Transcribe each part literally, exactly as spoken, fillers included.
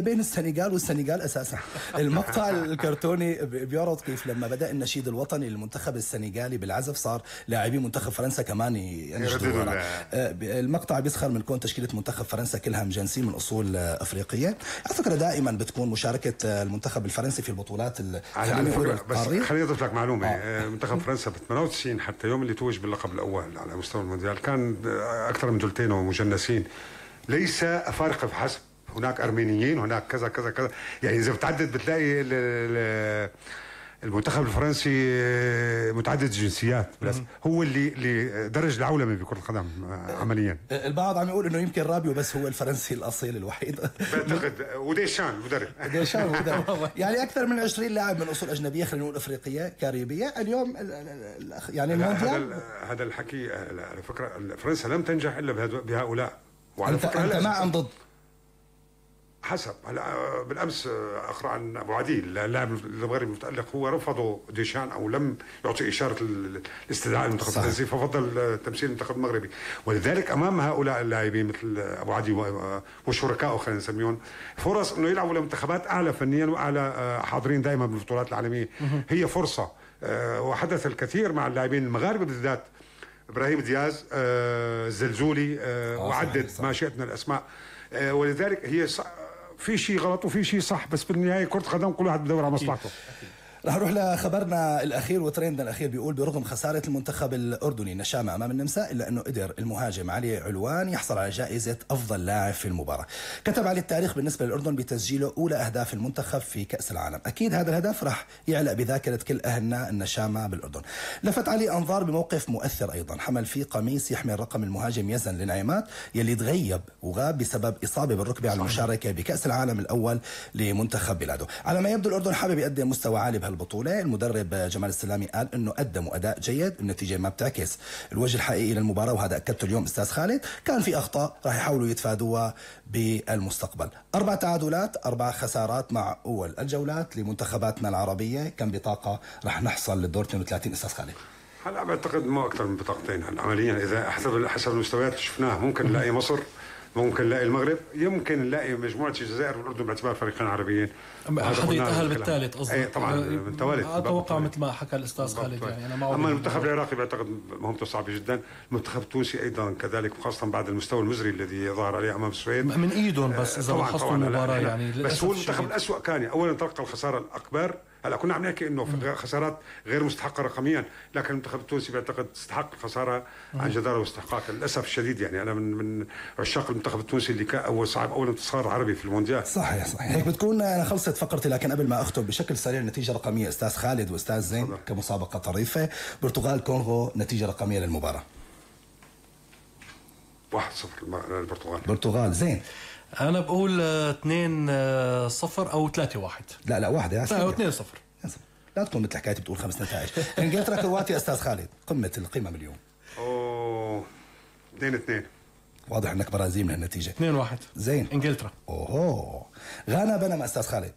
بين السنغال والسنغال اساسا. المقطع الكرتوني بيعرض كيف لما بدا النشيد الوطني للمنتخب السنغالي بالعزف صار لاعبين منتخب فرنسا كمان ينشدوا. المقطع بيسخر من كون تشكيله منتخب فرنسا كلها مجنسين من اصول افريقيه. على فكره دائما بتكون مشاركه المنتخب الفرنسي في البطولات. على فكره بس خليني اضيف لك معلومه. آه. منتخب فرنسا ب ثمانية وتسعين حتى يوم اللي توج باللقب الاول على مستوى المونديال كان اكثر من ثلثين ومجنسين، ليس افارقه فحسب، هناك ارمينيين، هناك كذا كذا كذا، يعني اذا بتعدد بتلاقي المنتخب الفرنسي متعدد الجنسيات، بس هو اللي اللي درج العولمه بكره القدم عمليا. البعض عم يقول انه يمكن رابيو بس هو الفرنسي الاصيل الوحيد. بعتقد وديشان المدرب ديشان المدرب يعني اكثر من عشرين لاعب من اصول اجنبيه، خلينا نقول افريقيه كاريبيه اليوم يعني المونديال. هذا هذا الحكي على فكره فرنسا لم تنجح الا بهؤلاء. وعلى فكره انت مع ام ضد؟ حسب. هلا بالامس اقرا عن ابو عديل اللاعب المغربي المتالق، هو رفضوا ديشان او لم يعطي اشاره الاستدعاء للمنتخب الفرنسي، ففضل تمثيل المنتخب المغربي. ولذلك امام هؤلاء اللاعبين مثل ابو عديل وشركائه خلينا نسميهم فرص انه يلعبوا لمنتخبات اعلى فنيا واعلى، حاضرين دائما بالبطولات العالميه. هي فرصه، وحدث الكثير مع اللاعبين المغاربه بالذات، ابراهيم دياز، الزلزولي، وعدد ما شئت من الاسماء. ولذلك هي في شيء غلط وفي شيء صح، بس بالنهايه كره قدم كل واحد بدور على مصلحته. رح نروح لخبرنا الاخير وترندنا الاخير. بيقول برغم خساره المنتخب الاردني النشامه امام النمسا الا انه قدر المهاجم علي علوان يحصل على جائزه افضل لاعب في المباراه. كتب عليه التاريخ بالنسبه للاردن بتسجيله اولى اهداف المنتخب في كاس العالم. اكيد هذا الهدف رح يعلق بذاكره كل اهلنا النشامه بالاردن. لفت علي انظار بموقف مؤثر ايضا، حمل فيه قميص يحمل رقم المهاجم يزن لنعيمات يلي تغيب وغاب بسبب اصابه بالركبه على المشاركه بكاس العالم الاول لمنتخب بلاده. على ما يبدو الاردن حابب يقدم مستوى عالي البطولة. المدرب جمال السلامي قال انه قدموا اداء جيد، النتيجه ما بتعكس الوجه الحقيقي للمباراه، وهذا اكدته اليوم استاذ خالد. كان في اخطاء راح يحاولوا يتفادوها بالمستقبل. اربع تعادلات، اربع خسارات مع اول الجولات لمنتخباتنا العربيه، كم بطاقه راح نحصل للدور اثنين وثلاثين استاذ خالد؟ هلا بعتقد مو اكثر من بطاقتين. هلا عمليا اذا حسب حسب المستويات اللي شفناها ممكن نلاقي مصر، ممكن نلاقي المغرب، يمكن نلاقي مجموعه الجزائر والاردن باعتبار فريقين عربيين. حدا يتاهل بالثالث قصدي. طبعا بالتوالي اتوقع مثل ما حكى الاستاذ خالد يعني انا معه. اما المنتخب العراقي بعتقد مهمته صعبه جدا، المنتخب التونسي ايضا كذلك، وخاصه بعد المستوى المزري الذي ظهر عليه امام السويد من ايدهم. بس اذا لاحظتوا المباراه يعني بس هو المنتخب الاسوء كان اولا تلقى الخساره الاكبر. هلا كنا عم نحكي انه خسارات غير مستحقه رقميا، لكن المنتخب التونسي بعتقد استحق الخساره عن جداره واستحقاق. للاسف الشديد يعني انا من من عشاق المنتخب التونسي اللي كان اول صعب اول انتصار عربي في المونديال. صحيح صحيح. هيك بتكون انا خلصت فقرتي، لكن قبل ما اختم بشكل سريع نتيجه رقميه استاذ خالد واستاذ زين صدق. كمسابقه طريفه، برتغال كونغو نتيجه رقميه للمباراه. واحد صفر للبرتغال. برتغال زين. انا بقول اثنين صفر او ثلاثة واحد. لا لا واحد يا سيدي. اثنين صفر. لا تكون مثل حكايتي بتقول خمس نتائج. انجلترا كرواتيا استاذ خالد، قمه القمم اليوم. اوه اثنين اثنين. واضح انك برازيل من النتيجه. اثنين واحد. زين. انجلترا. اوه غانا بنما استاذ خالد.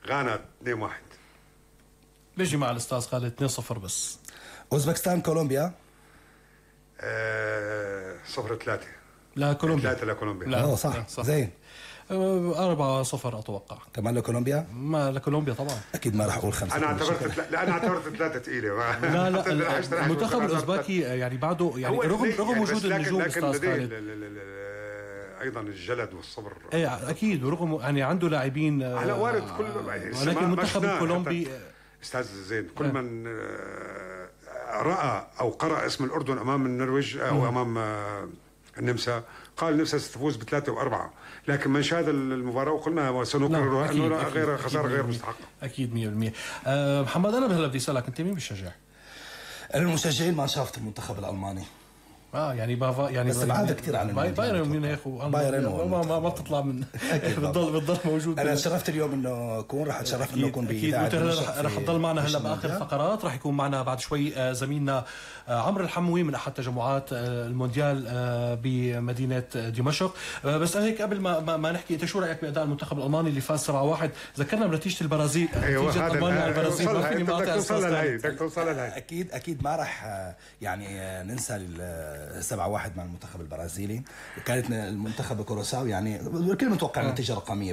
غانا اثنين واحد. بيجي مع الاستاذ خالد اثنين صفر بس. اوزبكستان كولومبيا. آه صفر ثلاثة. لا كولومبيا. ثلاثة لكولومبيا. لا أوه صح. صح زين. أربعة صفر أتوقع. كمان لكولومبيا؟ ما لكولومبيا طبعا. أكيد ما راح أقول خمسة. أنا اعتبرت لا أنا اعتبرت ثلاثة ثقيلة. لا لا المنتخب الأوزبكي يعني بعده يعني رغم رغم وجود النجوم أستاذ خالد أيضا الجلد والصبر. إيه أكيد، ورغم يعني عنده لاعبين على وارد كل ولكن المنتخب الكولومبي أستاذ زين كل من رأى أو قرأ اسم الأردن أمام النرويج أو أمام النمسا قال النمسا ستفوز بثلاثة وأربعة، لكن من شاهد المباراة وقلنا سنكررها أنه غير خسارة غير مستحقة. أكيد مية بالمية. أه محمد أنا هلا بدي أسألك أنت مين بتشجع؟ المشجعين ما شافت المنتخب الألماني. اه يعني بافا يعني بس بعد كثير عن بايرن ميونخ بايرن ما ما, ما بتطلع من بتضل بتضل موجود. انا تشرفت اليوم انه اكون رح اتشرف انه اكون باذاعه رح, رح تضل معنا هلا باخر الفقرات. رح يكون معنا بعد شوي زميلنا عمرو الحموي من احد تجمعات المونديال بمدينه دمشق. بس هيك قبل ما ما نحكي، انت شو رايك باداء المنتخب الالماني اللي فاز سبعة واحد؟ ذكرنا بنتيجه البرازيل. نتيجه المانيا على البرازيل ما فيني ما توصل لهي بدك توصل لهي. اكيد اكيد ما رح يعني ننسى سبعة واحد مع المنتخب البرازيلي، وكانت المنتخب كوروساو يعني الكل متوقع نتيجه رقميه. بس